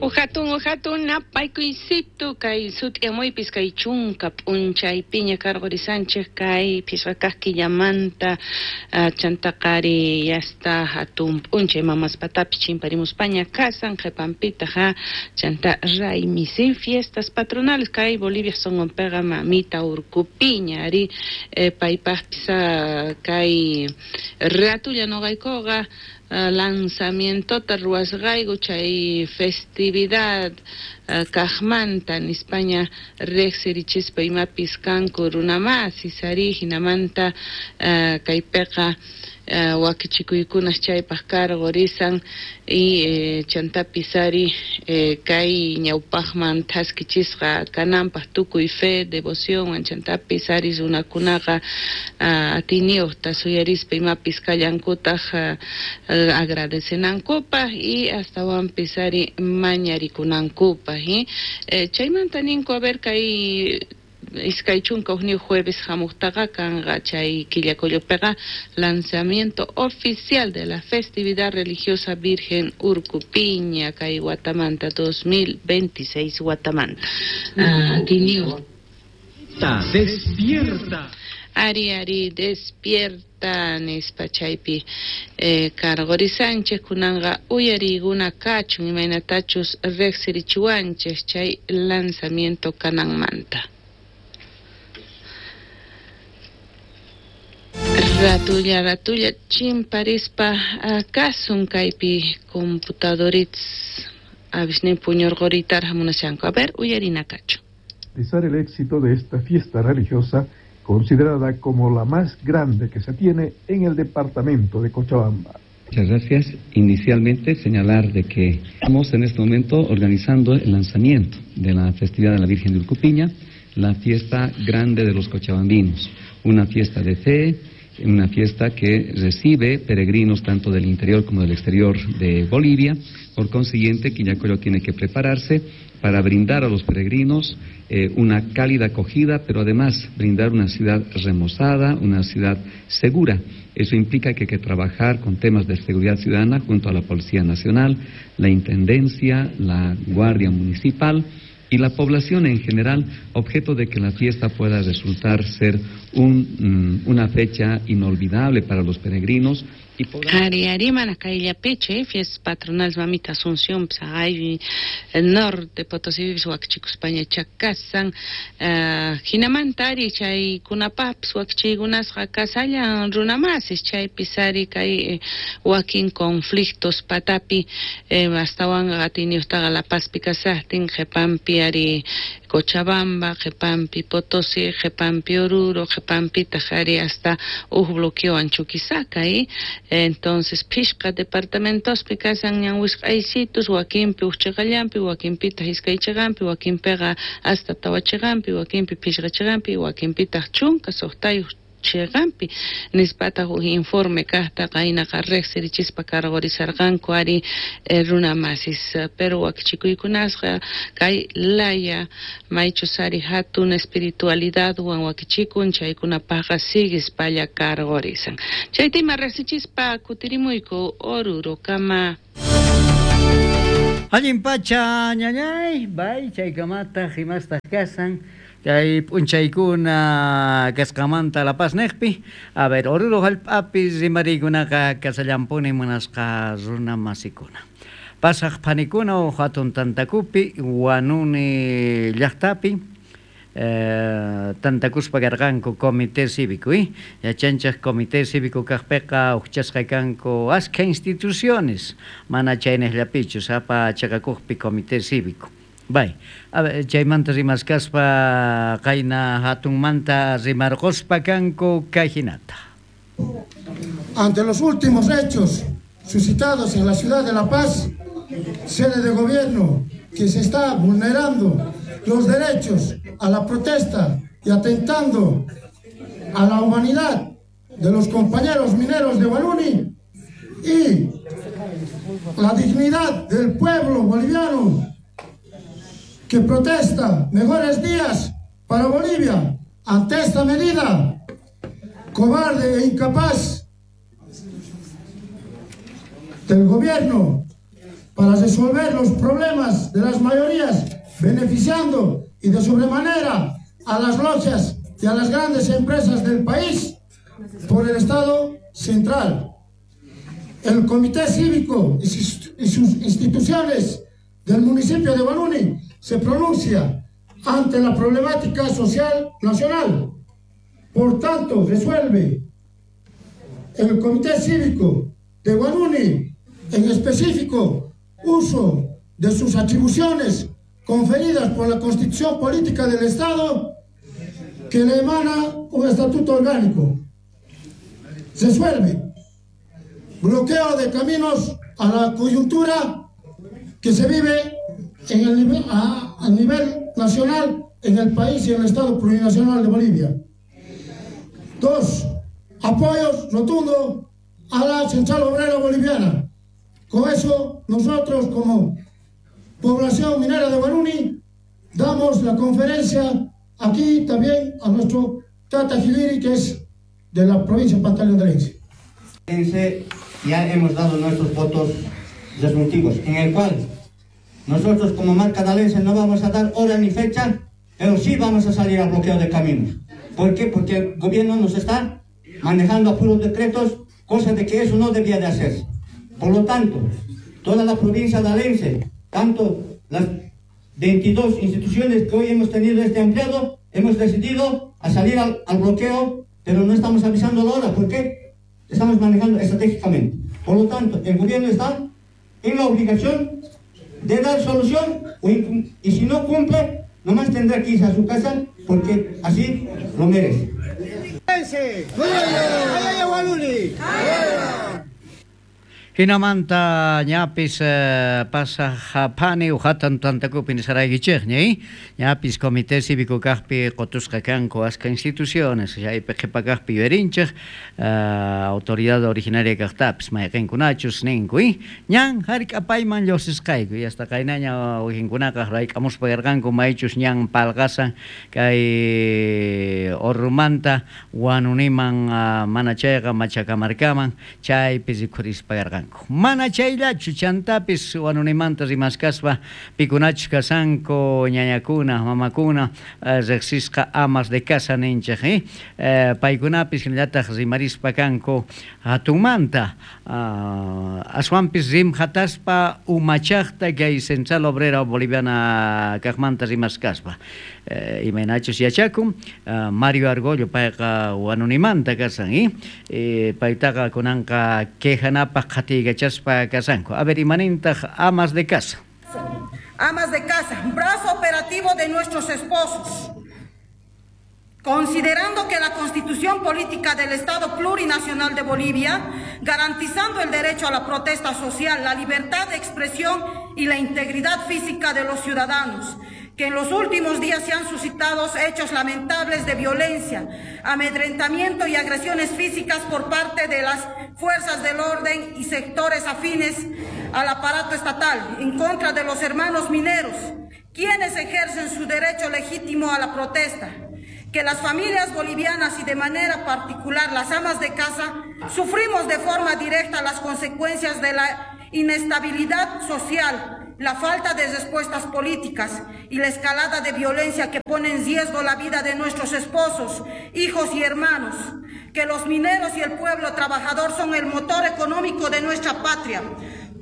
Uhatun napaykuysito kay sut'iyamuypis kay chunka p'unchaypiña karqurisanchik kay phisqa kaq killamanta chantaqari yasta hatun p'unchay mamaspatapis chimparimuspaña kasan qhipanpitaq chanta raymi sin fiestas patronales kay Bolivia sunqunpiqa mamita urkupiña ari paypaqpis kay ratulla nuqaykuqa lanzamientota ruwasqayku chay festividad kaqmanta nispaña riqsirichispa imapis kanku runamasis ari hinamanta kaypiqa wakichikuykunas chaypaq karqurisan y chantapis ari kay ñawpaqman thaskichisqa kananpaq tukuy fe, devoción chantapis ari runakunaqa atiyniyuqta suyarispa imapis kallankutaq agradecenankupaq y astawanpis ari mañarikunankupaq chaymanta ninku a ver kay iskay chunka hukniyuq jueves hamuqtaqa kanqa chay killakullupiqa lanzamiento oficial de la festividad religiosa Virgen Urcupiña kay watamanta 2026 watamanta. Despierta. Ari ari despierta nispa chaypi karqurisanchik kunanqa uyariykuna kachun imaynatachus riqsirichiwanchik chay lanzamiento kananmanta. Ratulla ratulla chimparispa kasun kaypi computadorits avisnin puñurquritarqa munashanku. A ver, uyarina kachu. Garantizar el éxito de esta fiesta religiosa considerada como la más grande que se tiene en el departamento de Cochabamba. Muchas gracias. Inicialmente señalar de que estamos en este momento organizando el lanzamiento de la festividad de la Virgen de Urcupiña, la fiesta grande de los cochabambinos, una fiesta de fe, una fiesta que recibe peregrinos tanto del interior como del exterior de Bolivia. Por consiguiente, Quillacollo tiene que prepararse para brindar a los peregrinos una cálida acogida, pero además brindar una ciudad remozada, una ciudad segura. Eso implica que hay que trabajar con temas de seguridad ciudadana junto a la Policía Nacional, la Intendencia, la Guardia Municipal y la población en general, objeto de que la fiesta pueda resultar ser una fecha inolvidable para los peregrinos. Ari arimana kayllapichu fiestas patronales mamita Asunción hay el norte Potosí wakichikuspaña chakasan hinamanta ari chaykunapaqpis wakichiykunasqa kasallan runamasis chaypis ari kay wakin conflictos patapi astawanqa atiyniyuqtaqa La Pazpi kasaqtin qhipanpi ari Cochabamba, qhipanpi Potosí, qhipanpi Oruro, qhipanpitaq ari hasta huk bloqueowan Chuquisaca entonces phishqa departamentospi kasan ñan wisq'aysitus wakinpi huk chiqallanpi wakinpitaq iskay chiqanpi wakinpiqa hasta tawa chiqanpi wakinpi phishqa chiqanpi wakinpitaq chunka suqtayuq chiqanpi nispataq huk informe kaqta qaynaqa riqsirichispa karqurisarqanku ari runamasis pero wakichikuykunasqa kay laya maychus ari hatun espiritualidadwan wakichikun chaykunapaqqa siguispalla karqurisan chaytima riqsichispa kutirimuyku Orurokama. Allin pacha ñañay bay chaykamataq imastaq kasan chay p'unchaykuna kasqamanta La Paz niqpi. A ver, Oruro hallp'api rimariykunaqa kasallampuni munasqa runa masikuna. Pasaq phanikuna hatun tantakupi Huanuni llaqtapi tantakuspa karqanku comité cívico, yachanchaq comité cívico kaqpiqa uqchasqa kanku askha instituciones mana chayniqllapichu sapa chaqakuqpi comité cívico. Bay, a ver, chaymanta rimaskaspa qayna hatunmanta rimarquspa kanku kay hinata. Ante los últimos hechos suscitados en la ciudad de La Paz, sede de gobierno, que se está vulnerando los derechos a la protesta y atentando a la humanidad de los compañeros mineros de Huanuni y la dignidad del pueblo boliviano que protesta mejores días para Bolivia ante esta medida cobarde e incapaz del gobierno para resolver los problemas de las mayorías, beneficiando y de sobremanera a las logias y a las grandes empresas del país por el Estado central. El Comité Cívico y sus instituciones del municipio de Huanuni se pronuncia ante la problemática social nacional. Por tanto, resuelve el Comité Cívico de Huanuni, en específico, uso de sus atribuciones conferidas por la Constitución Política del Estado, que le emana un estatuto orgánico. Resuelve bloqueo de caminos a la coyuntura que se vive en el nivel, a nivel nacional en el país y en el Estado Plurinacional de Bolivia. 2, apoyos rotundo a la Central Obrera Boliviana. Con eso, nosotros como población minera de Huanuni, damos la conferencia aquí también a nuestro Tata Giliri, que es de la provincia de Pantaleón de Alense. Ya hemos dado nuestros votos resolutivos, en el cual nosotros como marca de Alense no vamos a dar hora ni fecha, pero sí vamos a salir al bloqueo de caminos. ¿Por qué? Porque el gobierno nos está manejando a puros decretos, cosa de que eso no debía de hacerse. Por lo tanto, toda la provincia de Alense, tanto las 22 instituciones que hoy hemos tenido este ampliado, hemos decidido a salir al bloqueo, pero no estamos avisando la hora, porque estamos manejando estratégicamente. Por lo tanto, el gobierno está en la obligación de dar solución, y si no cumple, nomás tendrá que irse a su casa, porque así lo merece. Jinamanta ñapis pasaj phani ujatan tantakupi nisaraykichej ñay ñapis comité cívico kajpi qotusqa kanku aska instituciones chaypi qhipa kajpi yuyarinchej autoridad originaria kajtapis mayqinkunachus ninku ñan hark'apayman lluqsisqayku y hasta qaynaña wakinkunaqa rayk'amuspa yarqanku maychus ñan palqasan kay Orrumanta Huanuniman mana chayqa Machacamarcaman chaypi rikhurispa yarqanku. Mana chayllachu chantapis Huanunimanta rimaskaspa pikunachus kasanku ñañakuna mamakuna riqsisqa amas de casa ninchej paykunapis hinallataq rimarispa kanku hatunmanta aswanpis rimhataspa umachaqta kay Central Obrera Boliviana kaqmanta rimaskaspa imaynachus yachakun Mario Argollo payqa Huanunimanta kasan paytaqa kunanqa quejanapaq qatiykachaspa kasanku. A ver, imanintaq amas de casa. Amas de casa, brazo operativo de nuestros esposos. Considerando que la Constitución Política del Estado Plurinacional de Bolivia, garantizando el derecho a la protesta social, la libertad de expresión y la integridad física de los ciudadanos, que en los últimos días se han suscitado hechos lamentables de violencia, amedrentamiento y agresiones físicas por parte de las fuerzas del orden y sectores afines al aparato estatal en contra de los hermanos mineros, quienes ejercen su derecho legítimo a la protesta. Que las familias bolivianas y de manera particular las amas de casa sufrimos de forma directa las consecuencias de la inestabilidad social, la falta de respuestas políticas y la escalada de violencia que pone en riesgo la vida de nuestros esposos, hijos y hermanos, que los mineros y el pueblo trabajador son el motor económico de nuestra patria,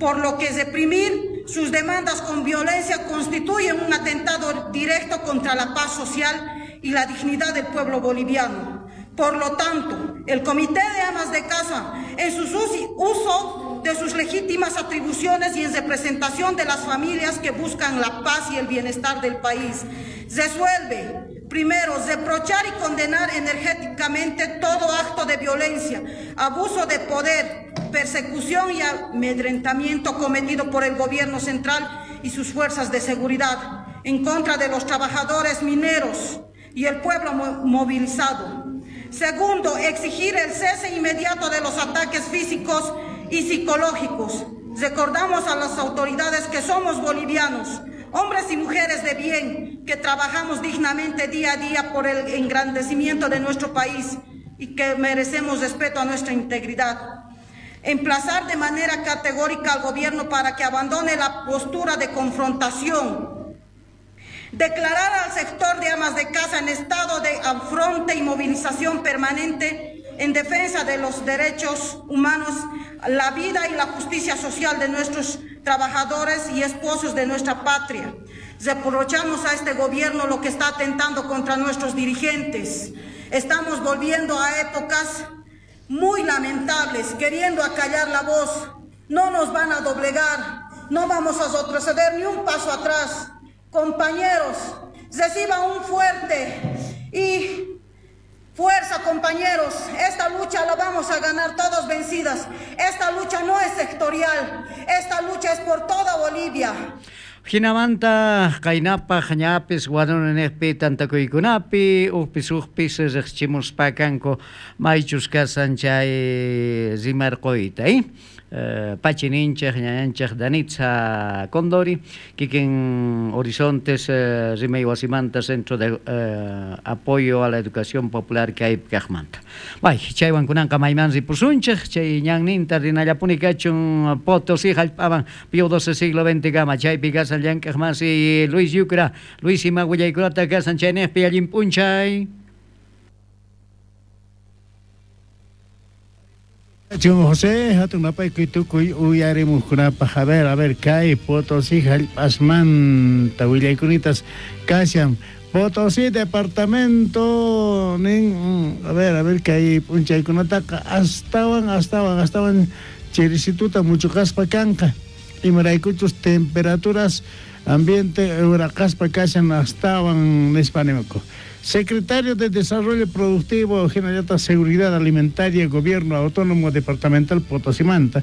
por lo que reprimir sus demandas con violencia constituye un atentado directo contra la paz social y la dignidad del pueblo boliviano. Por lo tanto, el Comité de Amas de Casa, en su uso de sus legítimas atribuciones y en representación de las familias que buscan la paz y el bienestar del país, resuelve, primero, reprochar y condenar energéticamente todo acto de violencia, abuso de poder, persecución y amedrentamiento cometido por el gobierno central y sus fuerzas de seguridad en contra de los trabajadores mineros y el pueblo movilizado. Segundo, exigir el cese inmediato de los ataques físicos y psicológicos. Recordamos a las autoridades que somos bolivianos, hombres y mujeres de bien, que trabajamos dignamente día a día por el engrandecimiento de nuestro país y que merecemos respeto a nuestra integridad. Emplazar de manera categórica al gobierno para que abandone la postura de confrontación. Declarar al sector de amas de casa en estado de afronte y movilización permanente en defensa de los derechos humanos, la vida y la justicia social de nuestros trabajadores y esposos de nuestra patria. Reprochamos a este gobierno lo que está atentando contra nuestros dirigentes. Estamos volviendo a épocas muy lamentables, queriendo acallar la voz. No nos van a doblegar, no vamos a retroceder ni un paso atrás. Compañeros, reciban un fuerte y fuerza, compañeros. Esta lucha la vamos a ganar todos vencidas. Esta lucha no es sectorial, esta lucha es por toda Bolivia. Jinamanta qaynapaj ñapis Huaroninejpi tantakuykunapi ujpis ujpis riqchimuspakanku maychus kasan chay rimarquyta, Pachi ninchej, ñañanchej Danitza Condori, kikin Horizontes rimay wasimanta Centro de Apoyo a la Educación Popular kay kajmanta. Bay, chaywan kunanqa mayman ripusunchej, chay ñanninta rinallapuni kachun Potosí jallp'aman Pío XII siglo XX kama, chaypi kasan llank'aj masi Luis Yucra, Luis ima willaykunata kasan chaynejpi allin p'unchay. José, hatun napaykuy tukuy uyarimuqkunapaj. A ver, kay Potosí jallp'asmanta willaykunitas kashan. Potosí departamento nin, a ver, kay p'unchaykunataqa astawan chirisituta muchuqaspa kanqa. Imaraykuchus temperaturas ambiente uraqaspa kashan astawan nispa nimuku. Secretario de Desarrollo Productivo, Generalidad Seguridad Alimentaria, Gobierno Autónomo Departamental Potosimanta,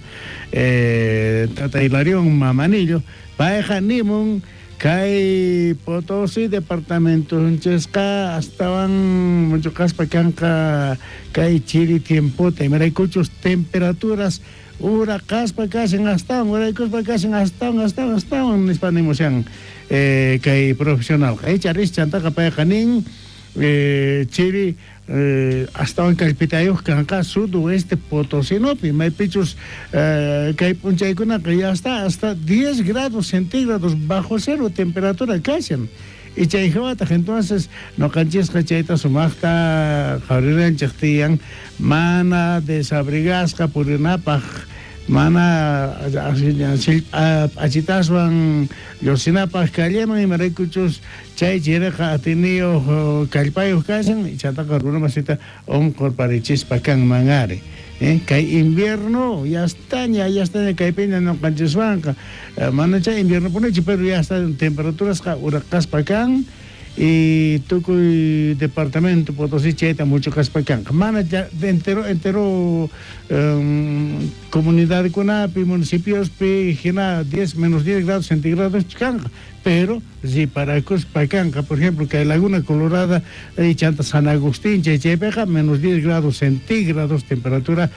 Tata Hilarión Mamanillo, Paeja Nimun, Kay Potosí Departamento, Chesca, astawan mucho caspa kanka, kay chiri tiempota, imaraykuchus temperaturas, ura caspa kasen astawan, uraykuspa kasen astawan, nispa nimushan, kay profesional. Kay charis chantaqa payqa nin, chiri astawan kallpitayuq kanqa sudoeste Potosinopi, maypichus kay p'unchaykunaqa ya hasta 10 grados centígrados bajo cero temperatura kashan. Y chay hawataq entonces noqanchisqa chayta sumaqta qhawriranchik tiyan mana desabrigasqa purinapaq, mana p'achitaswan lluqsinapaq calleman, imaraykuchus chay chiriqa atiniyuq kallpayuq kashan, chaytaqa runa masita unqurparichispa kanman ari. Kay invierno ya estaña kaypiña ñuqanchiswanqa, mana chay invierno punichu, pero ya está temperaturasqa uraqaspa kan y tukuy departamento Potosí chayta mucho kaspa kanqa. Mana ya entero comunidadkunapi, municipiospi hina 10 menos 10 grados centígrados kanqa, pero riparakuspa kanqa. Por ejemplo, kay Laguna Colorada y chanta San Agustín chay chaypiqa menos 10 grados centígrados temperatura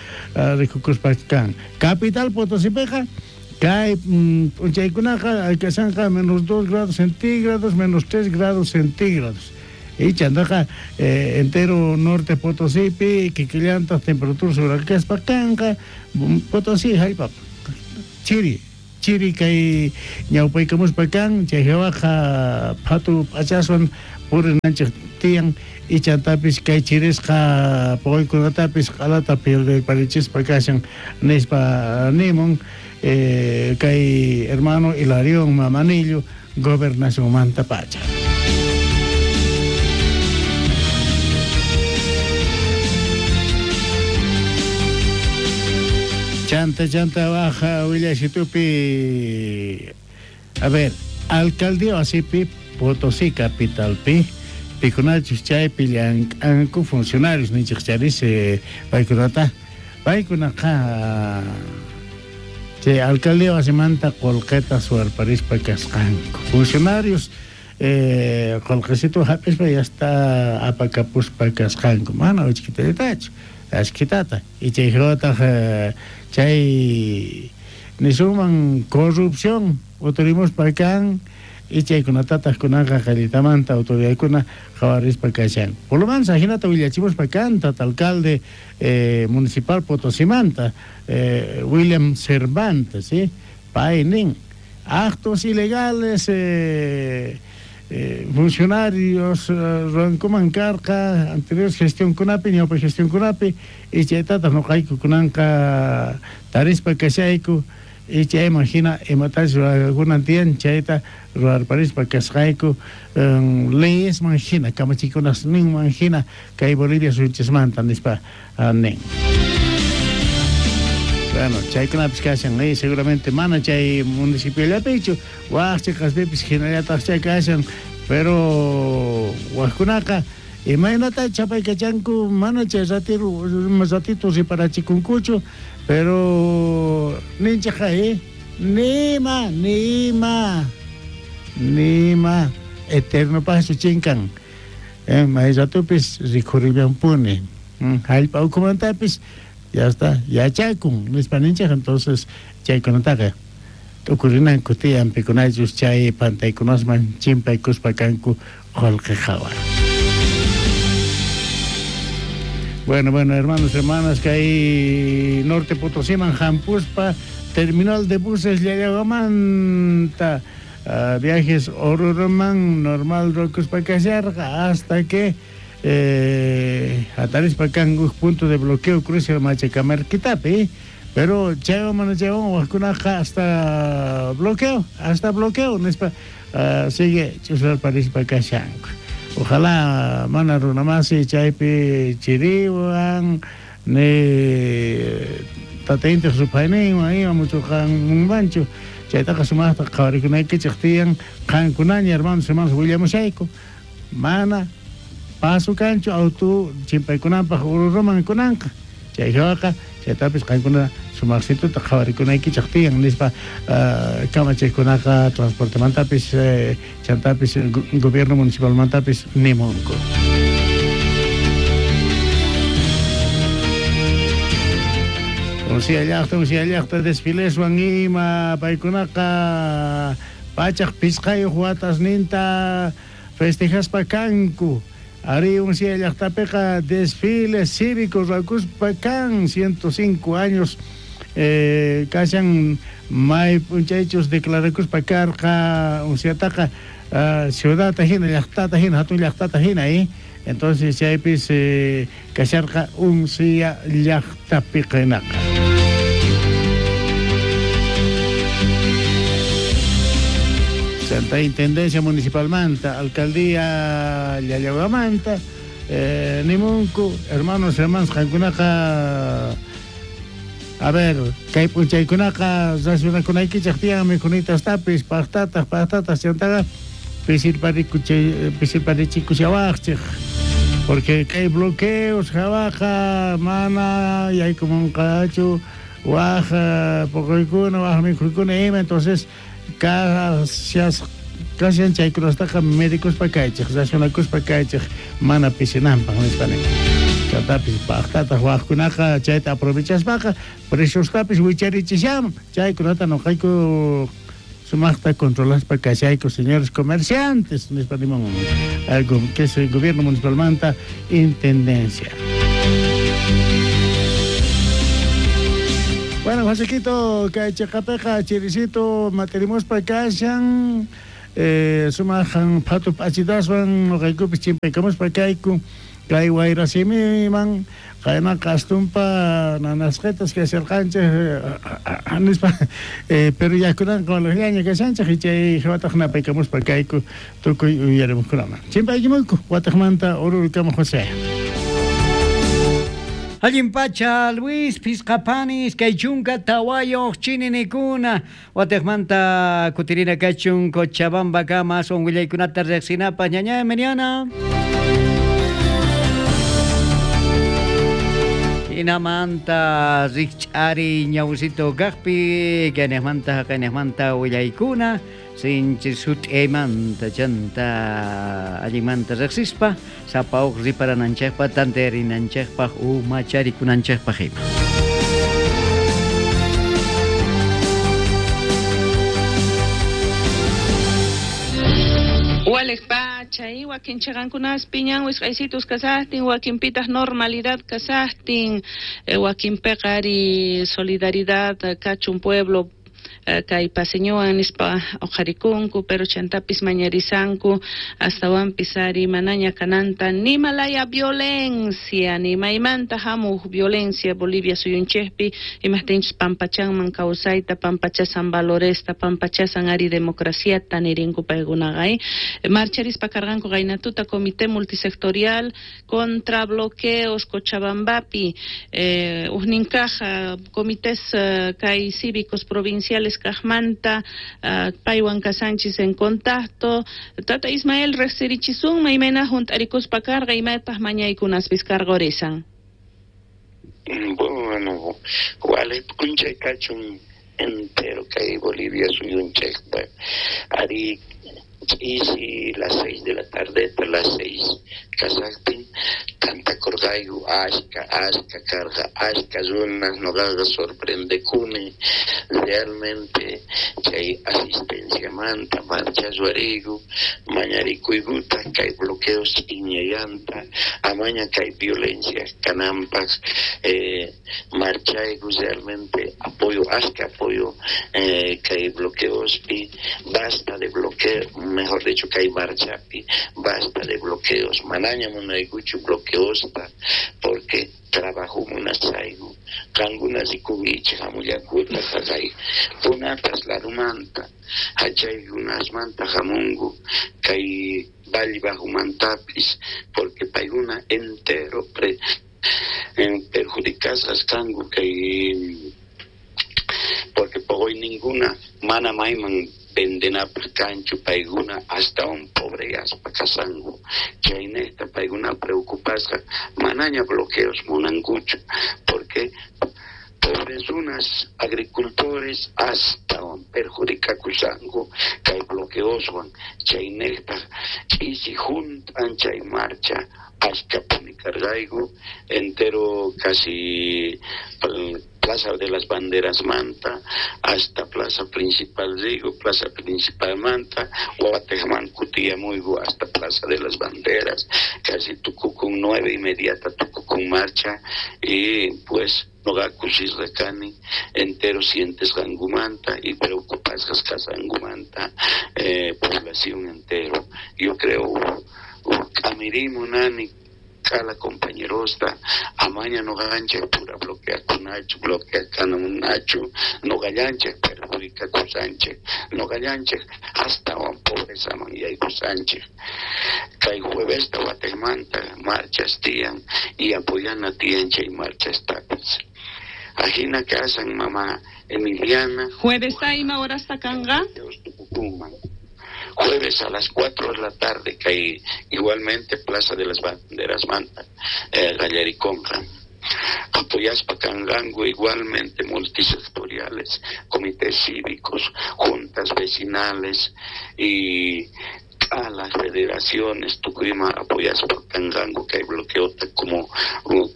rikukuspa kan. Capital Potosípiqa kay p'unchaykunaqa alkasanqa menos 2 grados centígrados, menos 3 grados centígrados. Y chantaqa entero norte Potosípi, kikillantaj temperaturas uraqaspa kanqa. Potosí jallp'api chiri kay ñawpaykamuspa kan, chay hawaqa phatu p'achaswan purinanchik tiyan, y chantapis kay chirisqa puquykunatapis q'alata pirdirparichispa kashan nispa nimun kay hermano Hilarión Mamanillo, gobernacionmanta pacha. Chanta baja willasitupi. A ver, alcaldía wasipi Potosí capitalpi pikunachus chaypi llank'anku funcionarios ninchik charis paykunata paykunaqa chay alcaldía wasimanta qullqita suwarparispa kasqanku. Funcionarios qullqisitu hap'ispa ya está apakapuspa kasqanku, mana uchkitallatachu ashkitata. Y chay hawataq chay nisuman corrupción uturimuspa kan Y chaykunatataq kunanqa qallitamanta autoridadkuna qhawarispa kashan. Por lo menos ajinata willachimuspa kan tata alcalde municipal Potosimanta, William Cervantes, ¿sí? Pay nin, actos ilegales, funcionarios ruwankuman karqa anterior gestionkunapi, ñawpa gestionkunapi, y chaytataq nuqayku kunanqa tarispa kashayku, y chayman hina imatachus ruwakunan tiyan chayta ruwarparispa kasqayku, leyesman hina, kamachikunasninman hina kay Bolivia suyuchismanta nispa nin. Bueno, chaykunapis kashan, seguramente mana chay municipiollapichu, waj chiqaspipis hinallataqchá kashan, pero wajkunaqa imaynata chapaykachanku mana chay ratito riparachikunkuchu, pero ninchikqa, nima, nima, nima eternopaqchu chinkan, may ratupis rikhurillampuni, hallp'a ukhumantapis ya está, yachakun nispa ninchik, entonces chaykunataqa t'ukurinanku tiyan pikunachus chay pantaykunasman chimpaykuspa kanku qullqi qhawa. Bueno, bueno, hermanos, hermanas, kay Norte Potosiman hampuspa terminal de buses Llallahuamanta, viajes Oruroman normal ruwakuspa kasharqa hasta que hatarispa kan uj punto de bloqueo cruce Machacamarquitapi, pero chaywan mana chaywan wajkunaqa hasta bloqueo nispa, sigue ch'uslarparispa kashanku. Ojalá mana runamasi chaypi chiriwan ni tata intij rupayninwan ima muchuqanmanchu, chaytaqa sumaqta qhawarikunaykichik tiyan qankunaña hermanos, hermanas willamushayku, mana paso kanchu auto chimpaykunanpaq Oruroman kunanqa, chay hawaqa chaytapis qankuna sumaqsituta qhawarikunaykichik tiyan nispa, kamachikunaqa transportemantapis, chantapis gobierno municipalmantapis nimunku. Uncia llaqta desfileswan ima paykunaqa pachaq pisqayuq watasninta festejaspa kanku. Ari uncia llaqtapiqa desfile cívico ruwakuspa kan 105 años, kashan may p'unchaychus declarakuspa karqa unciataqa, ciudadta hina, llaqtata hina, hatun llaqtata hina, Entonces chaypis kasharqa uncia llaqtapiqa hinaqa. Santa Intendencia Municipalmanta, Alcaldía Llallahuamanta, nimunku, hermanos, hermanas, qankunaqa, a ver, kay p'unchaykunaqa racionakunaykichik tiyan mikhunitastapis, paqtataq, paqtataq, chantaqa pisirparichikushawaqchik, porque kay bloqueos hawaqa mana yaykumunqachu waj poqoykuna, waj mikhuykuna ima, entonces kashan chaykunastaqa medikuspa kaychik, racionakuspa kaychik mana pisinanpaq nispa nin. Chantapis paqtataq wajkunaqa chayta aprovechaspaqa preciostapis wicharichishaman, chaykunata nuqayku sumaqta controlaspa kashayku señores comerciantes nispa nimun, que es el gobierno municipalmanta intendencia. Bueno, Josequito, kay chiqapiqa chirisito matirimuspa kashan, sumaqan phatu p'achitaswan nuqaykupis chimpaykamuspa kayku kay wayrasimiman qaynaqa astumpa nanasqetas kasharqanchik nispa, pero yakunanqa walaqllaña kashanchik y chay hawataq napaykamuspa kayku tukuy uyarimuqkunaman. Chimpaykimunku wataqmanta Orurukama, José. Allin pacha, Luis Pisqapanis, kay chunka tawayuq chininikuna, wataqmanta kutirina kachun Cochabamba kama aswan willaykunata riqsinapaq ñañay Meriana. Hinamanta rikch'ari ñawsito kaqpi, kayniqmanta haqayniqmanta willaykuna, sinchi sut'iymanta chanta allinmanta riqsispa, sapa uq riparananchikpaq, tantearinanchikpaq, umacharikunanchikpaq ima. Walej pacha, y wakin chiqankunaspi ñan wisq'aysitus kasaqtin, wakinpitaq normalidad kasaqtin, wakinpiqa ari solidaridad kachun pueblo kay paseñowan nispa uqharikunku, pero chantapis mañarisanku astawanpis ari manaña kananta nimalaya violencia, ni maymanta hamuq violencia Bolivia suyunchikpi, imajtinchus pampachanman kawsayta, pampachasan valoresta, pampachasan ari democraciata nirinku paykunaqa, Marcharispa karqanku qaynatuta Comité Multisectorial contra bloqueos Cochabambapi, ujninkaj comités kay cívicos provinciales kajmanta, paywan kasanchis en contacto. Tata Ismael riqsirichisunman imayna junt'arikuspa karqa, imataq mañaykunaspis karqurisan. Bueno, walej p'unchay kachun entero kay Bolivia suyunchikpa ari ch'isi las 6 de la tarde, las 6 kasaqtin tantakurqayku ashka ashka karqa ashka runas noqaqa sorprendekuni realmente chay asistenciamanta marcha ruwariyku mañarikuykuta kay bloqueos ch'iñayanta amaña kay violencia kananpaq, marchayku realmente apoyo ashka apoyo kay bloqueospi, basta de bloqueo, mejor dicho kay marchapi basta de bloqueos, manaña munaykuchu bloqueosta porque trabajo munasayku qankuna rikunkichik hamullakuta jaqay punatas larumanta hachaykunasmanta hamunku kay Valle Bajumantapis porque paykuna entero perjudicasqas kanku kay porque poqoy ninguna mana mayman vendenapaq kanchu paykuna astawan pobreyaspa kasanku chaynejta paykuna preocupasqa manaña bloqueos munankuchu porque pobres runas agricultores astawan perjudicakusanku kay bloqueoswan chaynejta ch'isi junt'an chay marcha ashkapuni karqayku entero casi Plaza de las Banderas manta hasta Plaza Principal Rigo, Plaza Principal manta, Guatejman kutiyamuyku hasta Plaza de las Banderas, casi tukukun 9:30 tukukun marcha y pues noqa kusisqa kani entero sientes qankumanta y preocupasqas kasqankumanta población entero. Yo creo k'amirimu nani k'ala compañerosta amaña noqanchik pura bloqueakunachu bloqueakanamunachu noqallanchik perjudicakusanchik noqallanchik astawan pobrezaman yaykusanchik kay juevesta watejmanta marchas tiyan y apoyana tiyan chay marchastapis ajina kasan mama Emiliana. Jueves ima horasta kanqa? Jueves a las 4 de la tarde, que igualmente Plaza de las Banderas manta, Gallariconja. Apoyaspa kanqanku igualmente multisectoriales, comités cívicos, juntas vecinales y a las federaciones tukuyma apoyaspa kanqanku kay bloqueota como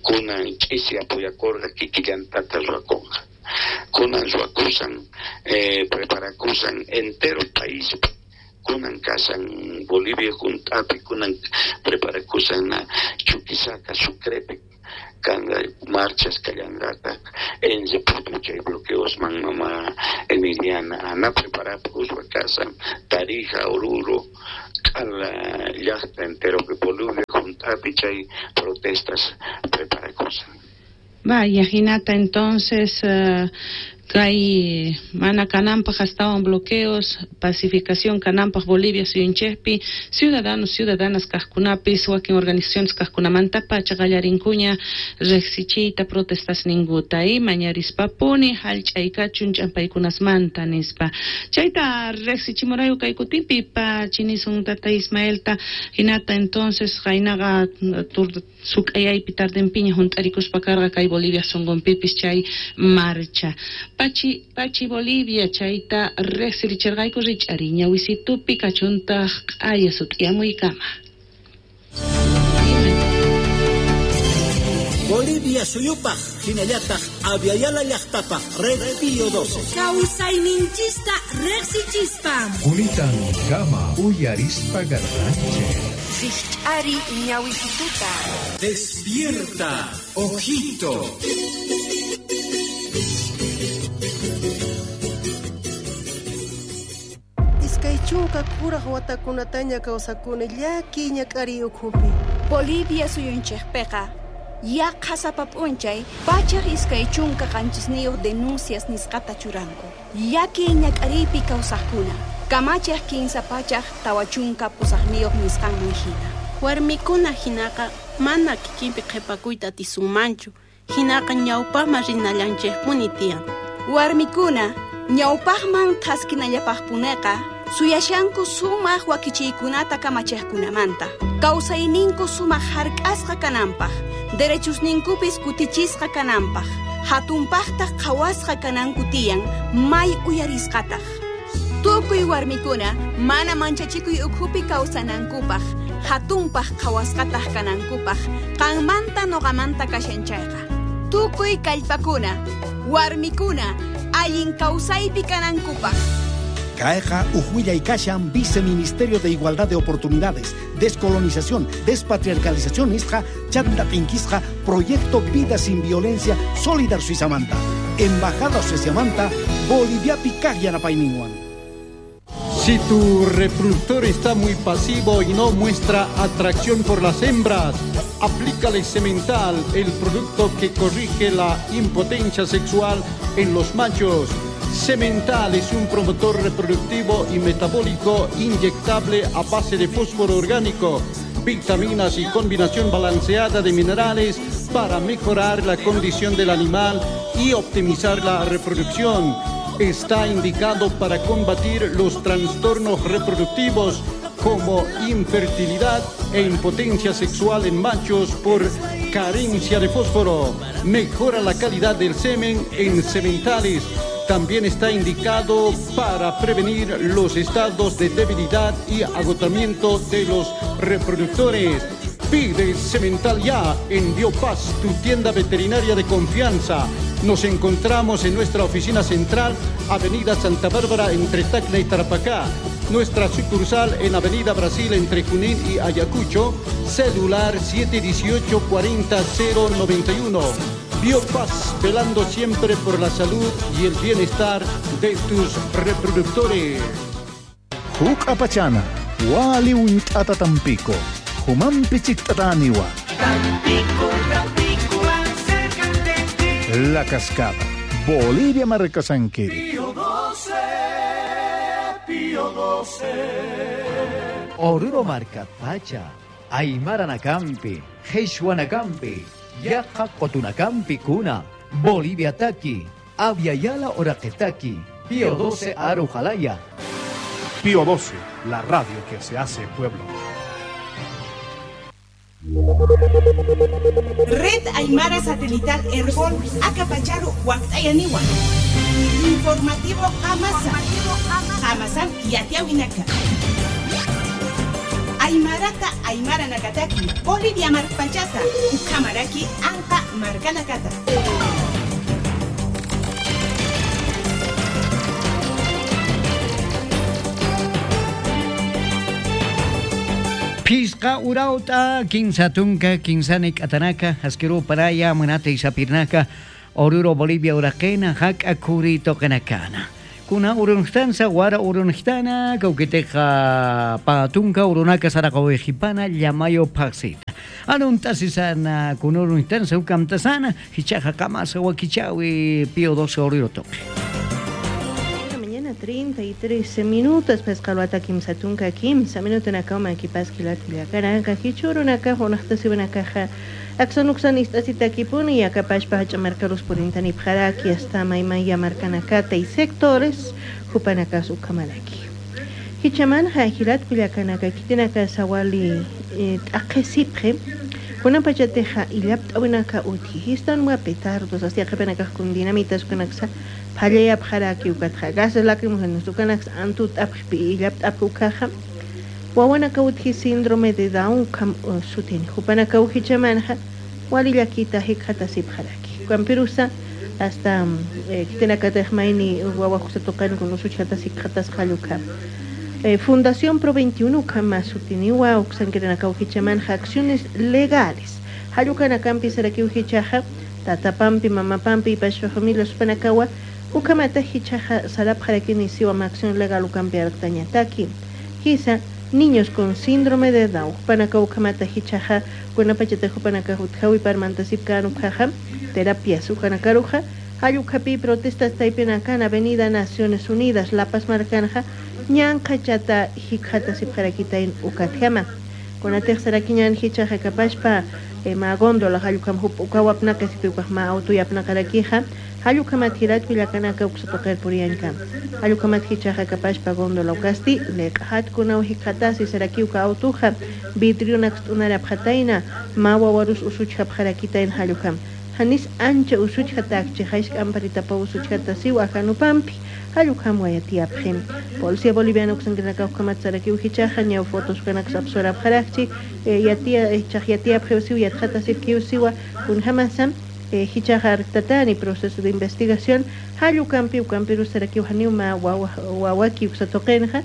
kunan ch'isi apoyakorqa kikillantata ruwakonqa kunan ruwakusan preparakusan entero país kunan kasan Bolivia juntapi kunan preparakusan Chuquisaca Sucrepi kanqa marchas kallanqataq en chay bloqueosman mama Emiliana ana preparakuspa kasan Tarija, Oruro, k'ala llaqta entero que Bolivia juntapi chay protestas preparakusan. Vaya, hinata entonces kay mana kananpaq astawan bloqueos, pacificación kananpaq Bolivia suyunchikpi, ciudadanos, ciudadanas kaqkunapis, wakin organizaciones kaqkunamanta pacha qallarinkuña riqsichiyta protestas ninkuta y mañarispapuni hallch'aykachun ch'ampaykunasmanta nispa. Chayta riqsichimurayku kay kutinpi pachinisun tata Ismaelta hinata entonces qaynaqa suk'ayaypi tardenpiña junt'arikuspa karqa kay Bolivia sunqunpipis chay marcha. Pachi, Pachi Bolivia, chayta riqsirichirqayku rich'ari ñawisitupi kachuntaq q'aya sut'iyamuykama. Bolivia suyupaj hinallataq Aviala llaqtapaj Red Pío 12. Kawsayninchista riqsichispa. Kunitan kama uyarispa garranche. Rikch'ari ñawisituta. Despierta, ojito. Iskay chunka kuraj watakunataña kawsakuni llakiy ñak'ariy ukhupi. Bolivia suyunchikpiqa yaqa sapa p'unchay 127 denuncias nisqata churanku. Llakiy ñak'ariypi kawsaqkuna kamachiq 348 nisqanman hina. Warmikuna hinaqa mana kikinpi qhipakuyta atisunmanchu, hinaqa ñawpaqman rinallanchikpuni tiyan. Warmikuna ñawpaqman thaskinallapaqpuneqa suyashanku sumaq wakichiykunata kamachiqkunamanta, kawsayninku sumaq hark'asqa kananpaq, derechusninkupis kutichisqa kananpaq, hatunpaqtaq qhawasqa kananku tiyan may uyarisqataq. Tukuy warmikuna mana manchachikuy ukhupi kawsanankupaq, hatunpaq qhawasqataq kanankupaq, qanmanta noqamanta kashan chayqa. Tukuy kallpakuna, warmikuna, allin kawsaypi kanankupaq. Caeja, Ujuilla y Kashan, Viceministerio de Igualdad de Oportunidades, Descolonización, Despatriarcalización, Isja, Chanda Tinquisja, Proyecto Vida Sin Violencia, Solidar Suizamanta, Embajada Suizamanta, Bolivia Picajiana Paininguan. Si tu reproductor está muy pasivo y no muestra atracción por las hembras, aplícale Semental, el producto que corrige la impotencia sexual en los machos. Semental es un promotor reproductivo y metabólico inyectable a base de fósforo orgánico, vitaminas y combinación balanceada de minerales para mejorar la condición del animal y optimizar la reproducción. Está indicado para combatir los trastornos reproductivos como infertilidad e impotencia sexual en machos por carencia de fósforo. Mejora la calidad del semen en sementales. También está indicado para prevenir los estados de debilidad y agotamiento de los reproductores. Pide Semental ya en Biopaz, tu tienda veterinaria de confianza. Nos encontramos en nuestra oficina central, Avenida Santa Bárbara, entre Tacna y Tarapacá. Nuestra sucursal en Avenida Brasil, entre Junín y Ayacucho. Celular 718 40091. Biopaz, velando siempre por la salud y el bienestar de tus reproductores. Huk apachana, wali unt'ata tampico, humanpi chikt'ataniwa. Tampico, Tampico, acércate. La Cascada, Bolivia Marcasanquiri. Pío 12, Pío 12. Oruro Marca Pacha, Aymara Nakampi, Nakampi, Yaqa Qotunakampi Kuna, Bolivia Taki, Aviala Oraqetaki, Pío 12 Arujalaya. Pío 12, la radio que se hace pueblo. Red Aymara Satelital Herbol, Acapacharu, Huactayaniwa. Informativo Amasa. Amasan Yatiawinaka. Aymarata Aymara Nakataki, Bolivia Marpachata, Ukamaraki, Anca Marcanacata. Pisqa urauta, kinsa tunka, kinsani katanaka, asquero paraya, manate isapirnaka, Oruro Bolivia uraqena, haka kuri toqenakana. Kuna urunjtansa, wara urunjtana, kauquiteja patunka, urunaka saracahuejipana, llamayo paxita. Anuntasisana, kunurunjtansa, ukamtasana, hichaja kamasa, wakichawi, Pío 12 Oruro toque. Mañana 33 minutos, pescalwata kimsa tunka kimsa minuto nakama kipaskilatillakaranka hichurunaka junaqtasibunakaja aksanuksan istasitakipuni yakapashpa hachamarkarus purintani pjaraki hasta maymaya markanakata y sectores jupanakas ukamalaki. Hichamanja hilat kullakanaka kitinaka sawali t'aqesipje kunan pachateja illapt'awinaka uti histan wa petardos hasta qhipanakaj kun dinamitas kunaksa phallayap jaraki ukatja gases lacrimógenos ukanaks antu t'apjpi illapt'apj ukaja wawanaka uti síndrome de Down kam sutin jupanaka ujichamanja Walillakita hikata sipjaraki. Kampirusa hasta kitenakatej mayni wawa toqan con usuchata sikjatas halluka. Fundación Pro 21 kama sutiniwa uksankiranakaujichaman acciones legales. Hallukanaka sarakiujichaja tatapampi mamapampi ipashpa familia supanakawa ukamata hichaja sarapjarakini siwa acción legal ukampi artañataki. Hisa niños con síndrome de Down panaka ukamata hichaja kunapachatejo panaka utjawi parmantasipka ukaja terapias ukanakaruja Hayukapi protestas taipinakan Avenida Naciones Unidas La Paz Marcanja ñanqachata hikjata sipjarakitain ukatjama kunatej sarakiñan hichaja kapashpa ma góndola hallukam ukawapnaka sipiukaj ma autoyapnakarakija hallukama thirat pillakanaka uksatoqer puriyanka hallukama hichaja kapashpa góndola ukasti leq'atkunaw hikjatasi sarakiuka autuja vidriunak t'unarapjatayna ma wawarus usuchjapjarakitain hallukam hanis ancha usuchjatakchi jaishk'amparitapa usuchjata siw ajanupampi hallukam wayatiapjin Policía boliviana uksankinakawkamat sarakiw hichaja ñaw fotos kanak sapsorapjaraqchi yatia chaqyatiapje siw yatjata sipkiw siwa kunjamasam hichaja arqtatani proceso de investigación hallukampi ukampiru sarakiw haniw ma wawaki uksatoqinja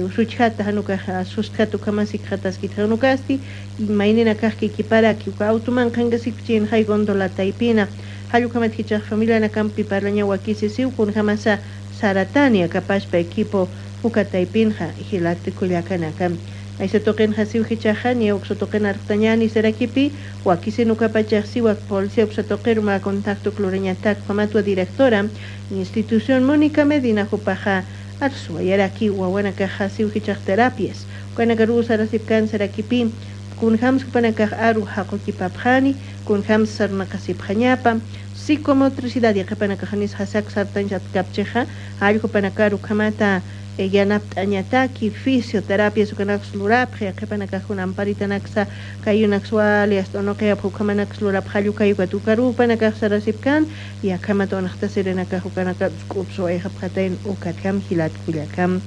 usuchjata hanukaj sustjata ukamasik jataskitjanukasti maynina kaq kikiparaki uka autuman qankasikchin hay gondola taypina hallukamat hichaj familia nakampi parlaña wakisi siw kunjamasa Saratania kapashpa equipo ukataypinja hilatikullakanaka aysatoqinja siw hichaja ña uksatoqin arqtañani sarakipi wakisi nukapachaj siwak policía uksatoqir ma contacto clureñatak pamatua directora institución Mónica Medina jupaja arsuayaraki wawanakaja siw hichaj terapias ukanakaru sarasipkan sarakipi kunjams kupanakaj aru haqukipapjani kunjams sarnaqasipjañapa psicomotricidad yaqapanakajanis hasak sartanchat kapcheja allqupanakaru kamata yanapt'añataki fisioterapia sukanaqs lurapje yaqapanakajun amparitanaksa kayunaks wali hasta unuqiyap hukhamanaks lurapj hallukayuka tukarupanakaj sarasipkan yakamata unaqta sirinakaj ukanaka k'upsuwayjapjatayn ukatkam hilatkullakam.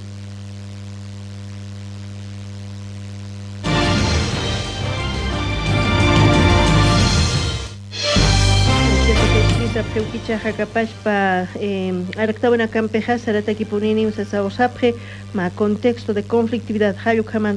Peuquichaja kapashpa araqtawana kampeja saratakipunini usasawsapje ma contexto de conflictividad hallukama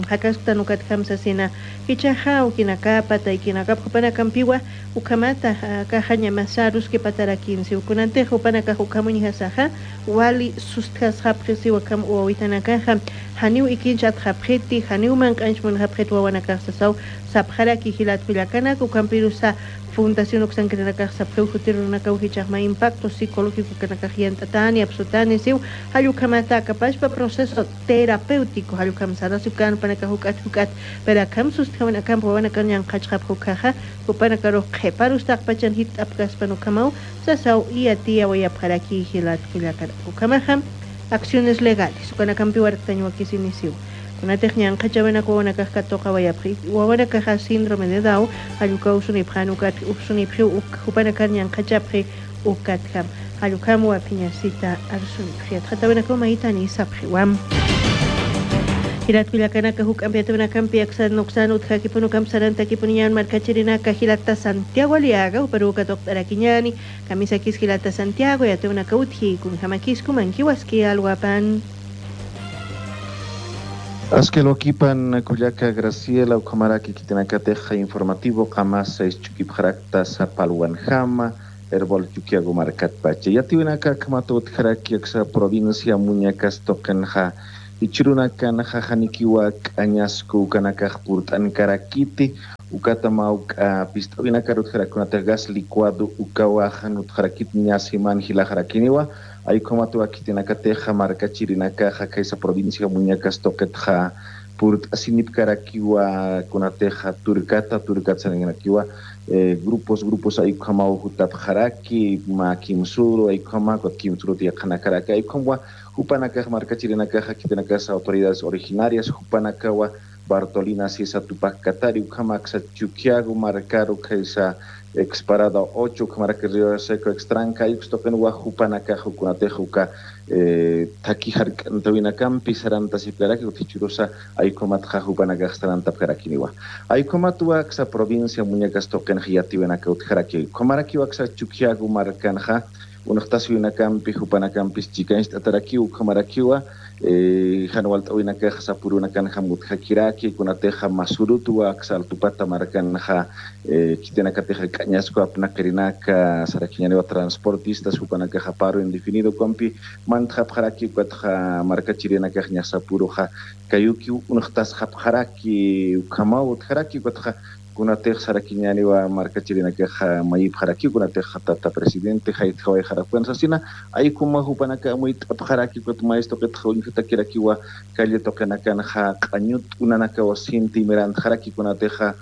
hakaskuta nukatkamsasina hichaja ukinakapa taykinakapa upanakampiwa ukamata kajaña masarus que patarakinsi ukunanteja upanakaj ukamuñijasaja wali sustjasjapje siwakam uwawitanakaja haniw ikincha atjapjeti haniw mank'anchmun japjet wawanakajsasaw sapjaraki hilatkullakanak ukampirusa Fundación Oxanqueranakaj sapjeu jutirunakaw hichajma impacto psicológico kanakaj yantatani absutani siw hallukamata kapashpa proceso terapéutico hallukam sarasiukan panakaj huk'at huk'at perakam sustjawanakam wawanakan ñanqachqap hukaja hupanakaruj qhiparustaqpachan hit'apkaspa nukamaw sasaw iyatia wayapjaraki hilatkullakara ukamaja acciones legales ukanakampi warktañuwakisinisiw kunatej ñanqachawanaka wawanakaj katoqa wayapji wawanakaja síndrome de Down halluka usunipja nukat usunipji hupanakar ñanqachapji ukatkam hallukam wapiñasita arsunipji atjatawanaka umaytani sapjiwam. Hilatkullakanaka huk ampiatawankampi aksan utjakipunukam sarantakipuniñan markachirinaka hilata Santiago Aliaga uperuka toqt'arakiñani kamisakis hilata Santiago yatawanaka utji kunjamakisku mankiwaski alwapan. Askelokipan Kullaka Graciela Ukamaraki Kitinakateja informativo Kamasa Ischukipjarakta Zapalwanjama Herbol Chukiago Markat Pache Yatiwinaka Kamato Utjaraki Aksa provincia Muñacas Tokenja Ichirunakan Jajanikiwa Añasco Ukanakaj Purtankarakiti Ukatamau Pistawinaka Utjarakunata gas licuado Ukawajan Utjarakit Ñasiman Hilajarakiniwa Aykomatu akitinakateja markachirinakaja kaysa provincia Muñacas toqetja purt asinipkarakiwa kunateja turkata turkatsaninakiwa grupos grupos aykamau jutapjaraki ma kimsuro aykama kimsuro tiaqanakaraka aykamwa jupanakaj markachirinakaja kitinakasa autoridades originarias jupanakawa Bartolina Sisa Tupac Katari ukhamaksa Chuquiago markaru kaysa exparada 8 ukhamaraki Río Seco extranca ayuxtoqen wajupanaka jukunatejuka taki hark'antawinakampi saranta siplaraki utichurosa aykumatqa jupanakaj saranta pjarakiniwa aykumatu aksa provincia muñecas toqen jiyatiwinaka utjaraki kumaraki waksa Chuquiago markanja unaqtaswinakampi jupanakampis chikanchta ataraki ukhamarakiwa hanwalt'awinakaj sapurunakanja mutjakiraki kunateja masurutuwa aksa altupata markanja kitenakateja k'añasku apnaqirinaka sarakiñaniwa transportistas jupanakaja paro indefinido kompi mantjapjaraki ukatja markachirinakaj ña sapuruja kayuki unaqtasjapjaraki ukhamaw utjaraki ukatja kunatej sarakiñaniwa markachirinakaja mayipjaraki kunateja tata presidente jaytjaway jarakuansasina aykuma jupanaka muyt'apjaraki kuat maestro qitja uñjatakirakiwa calle toqenakanja q'añut unanaka wasinti mirantjaraki kunateja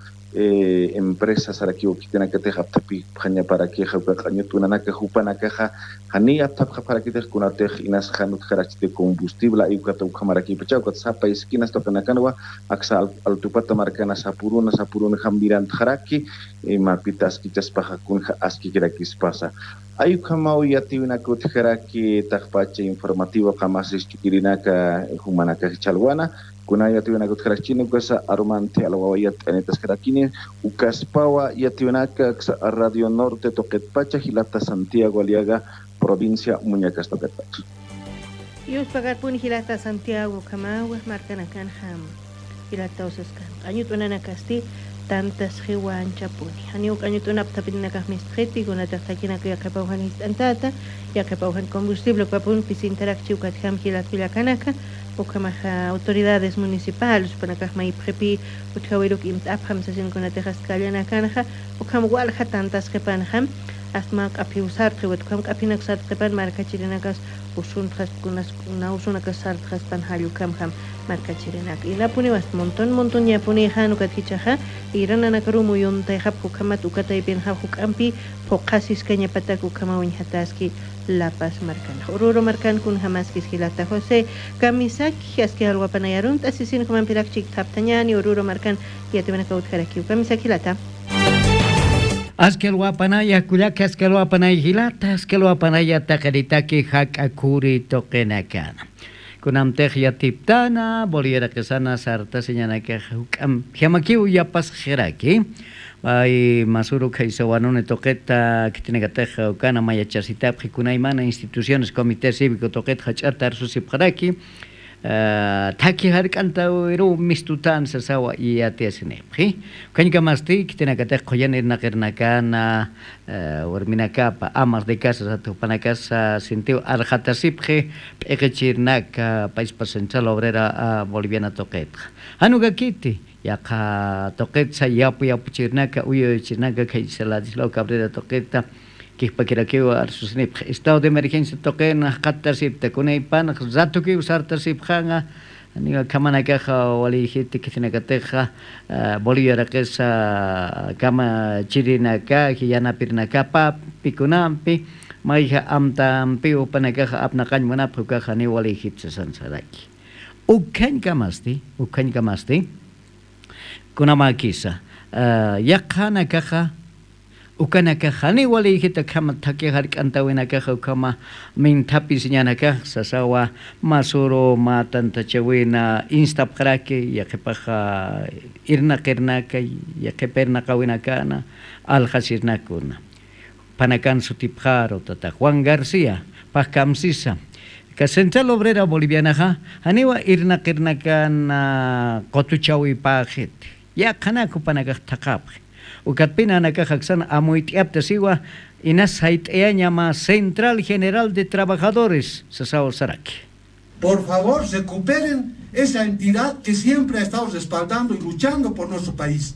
empresa sarakiwa kitenakateja aptapi pjañaparakija uka q'añut unanaka jupanakaja jani aptapjaparakitej kunatej inas janut jarachite combustible ayukata ukhamarakipacha ukat sapa esquinas toqenakanwa aksa altupata markana sapuruna sapuruna jambirantjaraki imapita askichaspaja kunja askikirakispasa ayukhamau yatiwinakutjaraki tajpacha informativo qamasis chukirinaka jumanaka chalwana kuna yatiwinakutjarachini ukasa arumante alwawayat anitas jarakini ukaspawa yatiwinaka Radio Norte Toquetpacha Gilata Santiago Aliaga provincia Muñecas Toquetpacha. Yus pagarpuni Gilata Santiago Kamawa markanakan ham Gilata osaskan añutunanakasti tantas jiwanchapuni haniuk añutunaptapinakaj mistjeti kunatajtakinaka yaqapawjan hist'antata yaqapawjan combustible papun pisintarakchi ukatjam jilatpillakanaka ukamaja autoridades municipales panakaj maypjepi utjawiruk imt'apjam sasinkunatejas kallanakanja ukham walja tantas qhipanjam asma q'apiusartqi watkam q'apinak sartqipan markachirinakas usuntjas kunas nausunakas sartjaspan hallukamjam markachirinak inapuni was montón montón yapuni hanukatkichaja irananakaru muyuntayjap hukhamat ukataypinja huk'ampi puqasisqa ñapatak ukhamawiñjataski La Paz markan Oruro markan kun hamaskis Gilata José Kamisaki aski alwapanayarun tasisin humanpirakchik thaptañani Oruro markan yatimanakautjaraki Kamisaki Gilata. Askelwapanaya kulaka askelwapanaya hilata askelwapanaya taqaritaki hak'akuri toqenakana. Kunamtej yatiptana boliera quesana sarta señanaka huk'am jamakiu yapas jeraki. Ay masuru kaysawanune toqeta kitinakateja ukana mayachasitapji kunaymana instituciones comité cívico toqeta hach'ata arsusipjaraki. Taki hark'anta wiru mistutan sasawa iyatiasinipji kañkamasti kitinakatej qhuyan irnaqirnakana warminakapa amas de casa satupanakasa sintiu arjatasipji p'iqichirnaka paispa Central Obrera Boliviana toqetqa hanukakiti yaqa toqetsa yapu yapuchirnaka uyuychirnaka kaysa Ladislao Cabrera toqeta Kihpakirakiwa arsusinipj estado de emergencia toqena qatasipta kunaypanaq ratukiw sartasipjanga niga kamanakaja walijiti kitinakateja Bolivia raqesa kama chirinaka yanapirnakapa pikunampi mayja amtampi upanakaja apnaqañmunapaj ukaja ni walijitsa sansaraki ukhañkamasti kunamakisa yaqhanakaja ukanaka hani walijita kama taki hark'antawinakaja ukama mintapis ñanakaj sasawa masuro matantachawina instapjaraki yaqipaja irnaqirnaka yaqipirnaqawinakana aljasirnakuna panakan sutipjaro tata Juan García pajkamsisa ka Central Obrera Bolivianaja haniwa irnaqirnakana qotuchawi pajit yaqhanaku panakaj thaqapaj Ukatpina nakajaksana amuyt'iapta siwa inas hayt'eañama Central General de Trabajadores Sasao Saraki. Por favor, recuperen esa entidad que siempre ha estado respaldando y luchando por nuestro país.